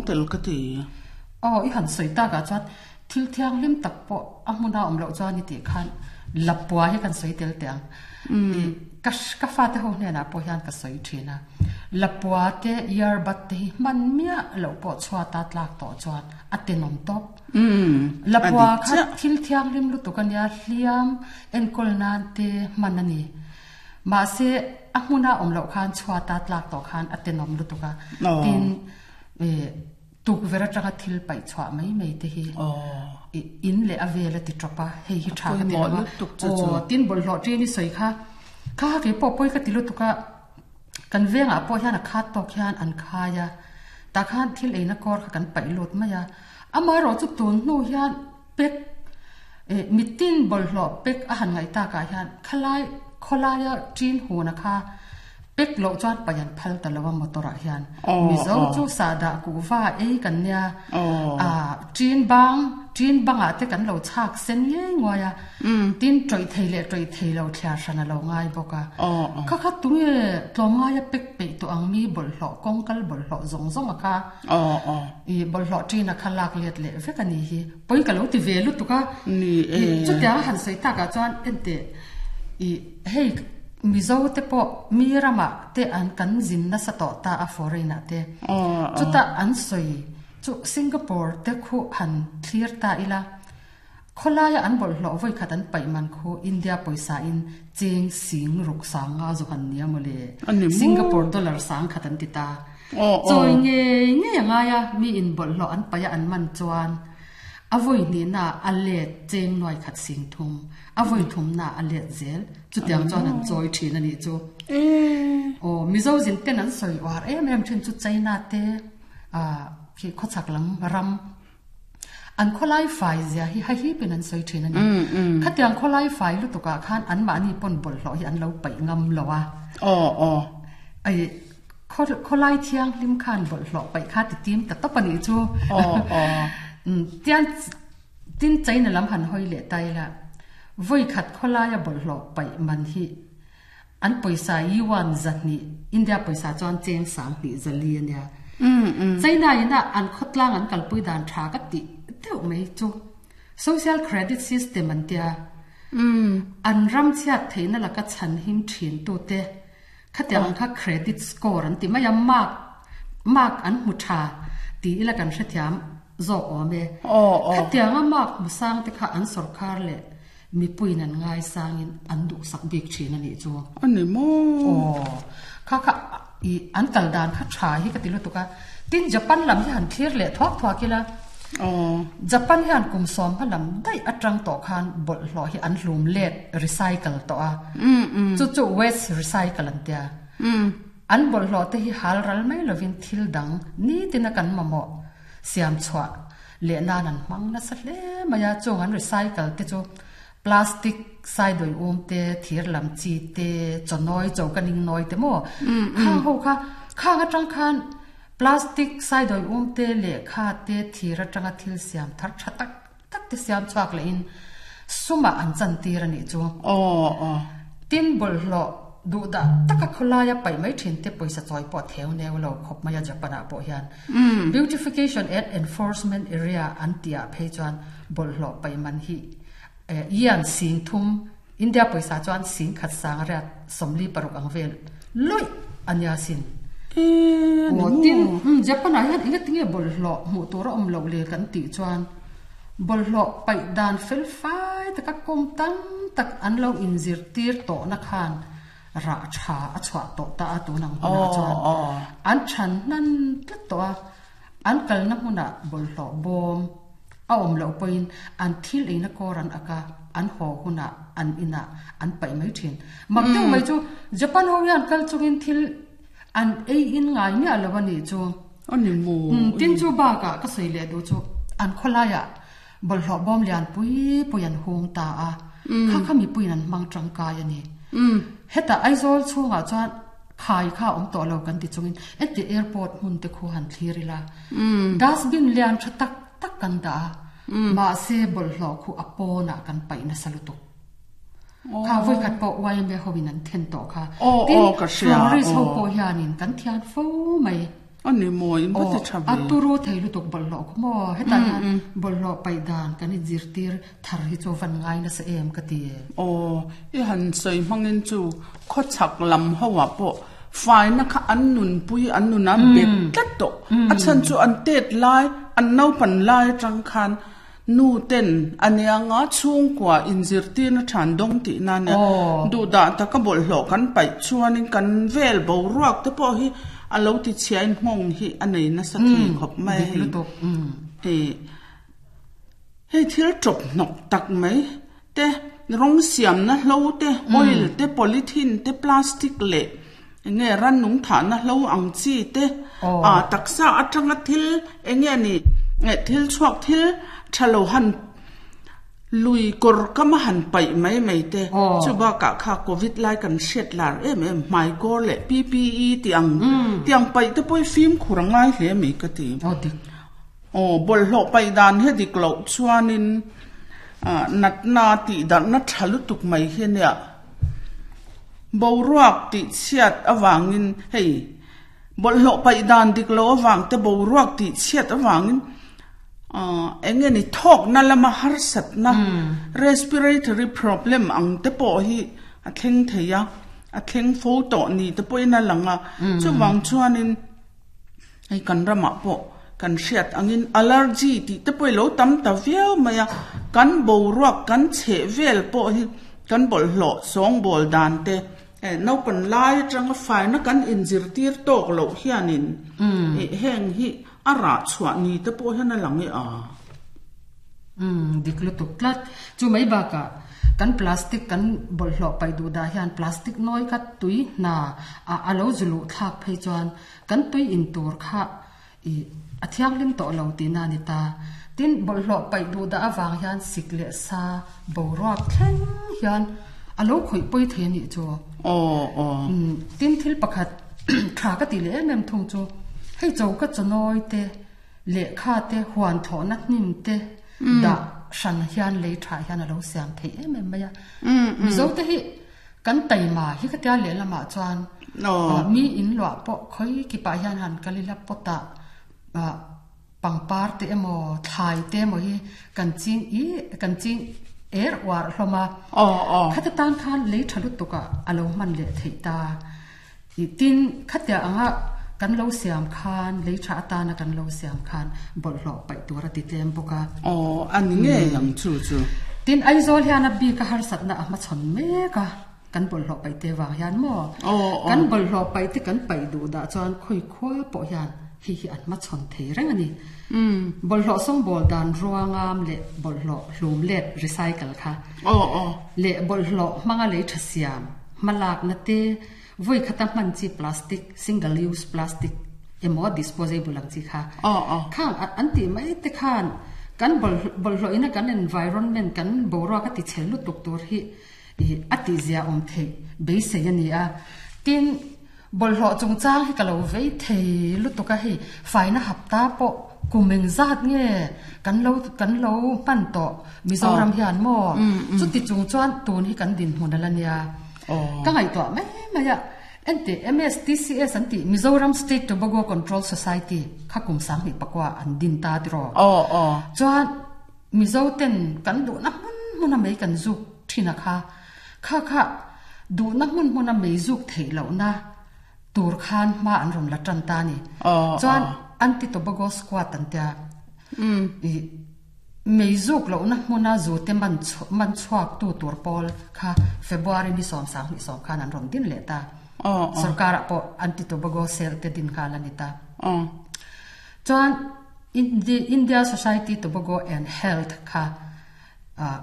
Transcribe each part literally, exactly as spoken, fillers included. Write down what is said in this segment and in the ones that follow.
tel ka ti. Aw i han sawi takah chuan thil thianghlim tak pawh a hmuna awm loh chuan i tih khan lapua hi kan sawi tel teh ang. I ka ka fate ho hnenah pawh hian ka sawi thin a, lapua te earbud te hi hman miah loh pawh chhuata tlak tawh chuan a tenawm tawp. Lapua kha thil thianghlim lutuk a nia, hliam enkawl nan te hman a ni. Mahse a hmuna awm loh khan chhuata tlak tawh khan a tenawm lutuk a, tin tukverh atanga thil paih chhuah mai mai te hi in leh a vel a ti tawp a, hei hi tha ka ti lo a. Aw, tin bawlhhlawh ṭin i sawi kha, kha kei pawh pawi ka ti lutuk a, kan vengah pawh hian a khat tawk hian an khai a, tah khan thil eina kawr kha kan paih lut mai a, amaherawh chu tun hnu hian pek mitin bawlhhlawh pek a han ngaih takah hian khalai khawlaia ṭin huna kha pek loh chuan paih an phal ta lo a motor ah hian. Mizo chu sahdah kuhva ei kan nia, ah ṭin bang ṭin bangah te kan lo chhak sen ngei nguai a, tin ṭawih thei leh ṭawih thei lo thliar hran a lo ngai bawk a. Kha kha tunge tlawmngaia pek peih tawh ang mi bawlhhlawh kawngkal bawlhhlawh zawng zawng a kha i bawlhhlawh ṭin a kha lak let leh vek a ni hi. Pawi ka lo ti ve lutuk a, chutiang a han sawi takah chuan enteh i hei Mizo te pawh mi ramah te an kan zin nasa tawh ta a foreign ah te. Chutah an sawi chu Singapore te khu han thlir ta ila, khawlaia an bawlhhlawh vawi khat an paih man khu India pawisa in cheng sing ruk sang nga zu han nia mawle. Singapore dollar sang khat an ti ta. Chawi ngei ngei a ngai a, mi in bawlhhlawh an paih a an man chuan a vawi hnihna a let cheng nuai khat sing thum, a vawi thumna a let zel. Chutiang chuan an chawi thin a nih chu. Aw, Mizo zin ten an sawi uar em em thin chu China te khi khawchhak lam ram an khawlai fai zia hi hahipin an sawi thin a ni. Khatiang khawlai fai lutukah khan anmahni pawn bawlhhlawh hi an lo paih ngam lo a. Aw, aw. Ai, khawlai thianghlim khan bawlhhlawh paih kha ti tim ta tawp a nih chu. Aw, aw. Tian tin China lam han hawi leh ta ila, vawi khat khawlaia bawlhhlawh paih man hi an pawisa yuan zahnih, India pawisa chuan cheng sang hnih zali a nia. China ina an khawtlang an kalpui dan tha ka tih deuh mai chu social credit system an tia. An ram chhiat theihna laka chhan him thin tute khatiang ang kha credit score an ti mai a, mark mark an hmu tha tih ila kan hrethiam zawk awm e. Khatianga mark hmu sang te kha an sawrkar leh mipuiin an ngai sangin an duhsak bik thin a nih chu. A ni maw? Aw, kha kha i an kal dan kha tha hi ka ti lutuk a. Tin Japan lam hi han thlir leh thuak thuak ila. Aw. Japan hian kum sawm hma lam daih atang tawh khan bawlhhlawh hi an hlum let, recycle, tawh a. Chu chu waste recycle an tia. An bawlhhlawh te hi hal ral mai lovin thil dang nitin a kan mamawh siam chhuah leh nan an hmang nasa hle mai a. Chung an recycle te chu plastic saidawi um te, thir lam chi te, chawnawi cho ka ning nawi te maw? Khang ho kha, khang atang khan plastic saidawi um te, lehkha te, thir atanga thil siam thar tha tak tak te siam chhuak lehin sumah an chantir a nih chu. Aw, aw. Tin bawlhhlawh duhdah taka khawlaia paih mai thin te pawisa chawi pawh theu neu lo khawp mai a Japan ah pawh hian. Beautification and Enforcement Area an tih ah phei chuan bawlhhlawh paih man hi Ian sing thum, India pawisa chuan sing khat sang riat sawmli paruk ang vel lawih a nia sin. Aw tin, Japan ah hian engatinge bawlhhlawh hmuh tur a awm loh le kan tih chuan bawlhhlawh paih dan fel fai taka kawng tam tak an lo inzirtir tawhna khan rah tha a chhuah tawh ta a tun ang hunah chuan an than hnan tlat tawh a, an kalna hmunah bawlhhlawh bawm a awm loh pawhin an thil eina kawr an ak a, an haw hunah an inah an paih mai thin. Mak deuh mai chu Japan ho hian kal chungin thil an ei in ngai miah lo a nih chu. A ni maw? Tin chu bakah ka sawi leh duh chu an khawlaiah bawlhhlawh bawm lian pui pui an hung ta a, kha kha mipuiin an hmang tangkai a ni. Hetah Aizawl chhungah chuan khai kha a awm tawh lo kan ti chungin heti airport hmun te khu han thlir ila, dustbin lian tha tak tak kan dah a, mahse bawlhhlawh khu a pawnah kan paih nasa lutuk. Kha vawikhat pawh Y M A hoin an then tawh kha. Tin, florist ho pawh hianin kan thian fo mai. Ani maw in va ti tha ve. A turu thei lutuk bawlhhlawh khaw maw hetah hian bawlhhlawh paih dan kan inzirtir thar hi chu van ngai nasa em ka ti. Aw, i han sawi hmangin chu khawchhak lam ho ah pawh faina kha an nunpui an nun a bet tlat tawh. A chhan chu an tet lai, an naupan lai atang khan nu ten a nianga chhungkua inzirtirna than dawng tihna a nia. Duhdah taka bawlhhlawh kan paih chuanin kan vel boruak te pawh hi a lo ti chhiain nghawng hi a nei nasa thei khawp mai a hei. Hei hei thil tawp hnawk tak mai te, rawng siamna hlo te, oil te, polythene te, plastic leh enge rannung thahna hlo ang chi te, a taksa atanga thil enge ni thil chhuak thil tha lo han lui kawr kam a han paih mai mai te, chu bakah kha Covid lai kan hriat lar em em hmai kawr leh P P E tih ang tih ang paih te pawh hi fimkhur a ngai hle mai ka ti. Aw, bawlhhlawh paih dan hi a dik loh chuanin natna tih darhna tha lutuk mai hi a nia. Boruak tih chhiat avangin hei bawlhhlawh paih dan dik loh avang te boruak tih chhiat avangin eng nge ni thawkna lama harsatna respiratory problem ang te pawh hi a thleng thei a, a thleng fo tawh ni te pawhin a lang a. Chuvang chuanin hei kan ramah pawh kan hriat angin allergy tih te pawh hi lo tam ta viau mai a, kan boruak kan chheh vel pawh hi kan bawlhhlawh sawngbawl dan te naupang lai atanga faina kan inzirtir tawk loh hianin heng hi a rah chhuah ni te pawh hian a lang e a. Umm, dik lutuk tlat. Chu mai bakah kan plastic kan bawlhhlawh paih duh dah hian plastic nawi kha tui hna ah a lo zu luh thlak phei chuan kan tui in tur kha ih a thianghlim tawh lo tihna a ni ta. Tin, bawlhhlawh paih duh dah avang hian sik leh sa boruak thleng hian a lo khawih pawi thei a nih chu. Aw, aw. Umm, tin thil pakhat tha ka tih leh em em thung chu hei cho ka chawnawi te, lehkha te, huan thlawhna hnim te dah hran hian lei tha hian a lo siam theih em em mai a. Mizo te hi kan taima hi ka tia lehlamah chuan mi in luah pawh khawi kipah hian han kal ila pawtah pangpar te emaw thlai te emaw hi kan ching i kan ching er uar hlawm a. Khata tan khan lei tha lutuk ah a lo hman leh theih ta. Tin, khatia anga kan lo siam khan, lei tha atana kan lo siam khan bawlhhlawh paih tur a ti tlem bawk a. Aw, a ni ngei ang chu chu. Tin, Aizawl hian a bik a harsatna a hmachhawn mek a, kan bawlhhlawh paih te vang hian maw? Kan bawlhhlawh paih te kan paih duh dah chuan khawi khua pawh hian hei hi an hmachhawn thei reng a ni. Bawlhhlawh sawngbawl dan ruangam leh bawlhhlawh hlum let, recycle, kha leh bawlhhlawh hmanga lei tha siam hmalakna te, Vawi khata hman chi plastic, single use plastic, emaw disposable ang chi kha khang an tih mai te khan kan bawlhhlawh ina kan environment kan boruak a ti chhe lutuk tur hi a tihzia awm theih beisei a ni a. Tin, bawlhhlawh chungchang hi ka lo vei thei lutuk a, hei faina hapta pawh kum engzat nge kan lo kan lo hman tawh Mizoram hian maw? Chuti chung chuan tun hi kan dinhmun a la nia. Ka ngaihtuah mai mai a, enteh M S T C S an tih Mizoram State Tobacco Control Society kha kum sanghnih pakua an din ta tiraw. Chuan Mizo ten kan duhna hmun hmuna mei kan zuk thin a kha, kha kha duhna hmun hmuna mei zuk theih lohna tur khan hma an rawn la tan ta a ni. Chuan Anti-Tobacco Squad an tia ih Mei zuk lohna hmuna zute man man chhuaktu tur pawl kha February ni sawm sanghnih sawm khan an rawn din leh ta. Sorkarah pawh Anti-Tobago Cell te din nghal a ni ta. Chuan India Society Tobago and Health kha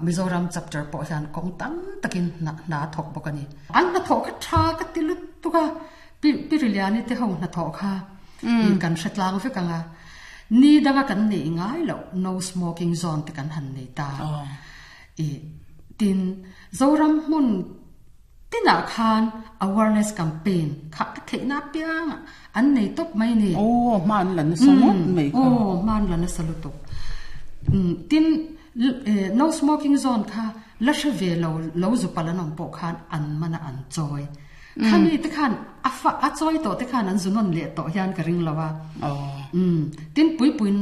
Mizoram chapter pawh hian kawng tam takin hna a thawk bawk a ni. An hnathawh kha tha ka ti lutuk a, Piriliani te ho hnathawh kha kan hre tlang vek ang a. Ni danga kan neih ngai loh no smoking zone te kan han nei ta. I tin, Zoram hmun tinah khan awareness campaign kha a theihna apiang an nei tawp mai ni. Aw, hma an la nasa ngawt mai kha. Aw, hma an la nasa lutuk. Tin, no smoking zone kha la hre ve lo, lo zu pal an awm pawh khan an man a an chawi. Khami te khan a fa a choi to te khan an zunon le to hian ka ring lawa. Oh. Um tin pui pui